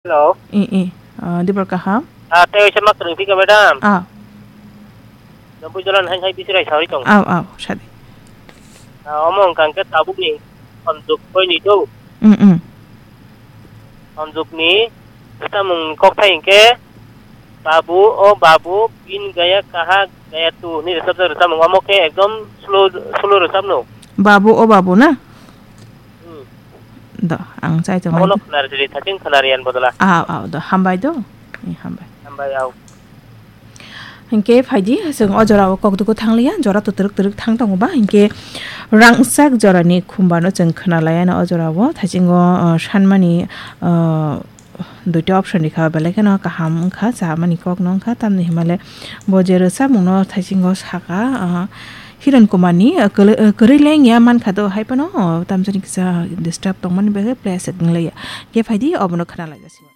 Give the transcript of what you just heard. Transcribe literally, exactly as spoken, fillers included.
Hello. I, i. Ah, dibor kaham? Ah, tei oisa ma kwrwng phika, madam? Ah. Noboi jolan hai hai bisi rai sawi tong. Aw, aw, sadi. Ah, omo wngkha hwnkhe tabukni sonjok koi ni do. Mm, mm. Sonjokni rwchapmung kokthai hwnkhe, Babu, o Babu, pin gaya kaha gaya tu hwnwi rwchapjak rwchapmung. Omo khe ekdom slow, slow rwchapno. Babu, o Babu na? Hmm. Do, ang chai tongmani. Abono khwnari sidi, thaching khwnari yan bodola. Aw, aw, do, hambai do. Eh, hambai. Hambai, aw. Hinkhe phaidi, chwng o jorao kokdwgo thangliya, jora to twrwk twrwk thang tongo ba, hinkhe rangchak jorani khumbano chwng khwnalaiya no o jorao, thachingo, uh, sanmani, uh, duita option rikha, belai kheno kaham wngkha, chamani kokno wngkha, tamni himale bo je rwchapmungno thachingo saka, uh, Hiran Kumarni, uh, kwlwi-, uh, kwrwi lengya mankha do, hai phano, uh, tamjani kisa disturb tongmani bagwi play set wnglaia. Khe phaidi, obono khwnalaijasingo.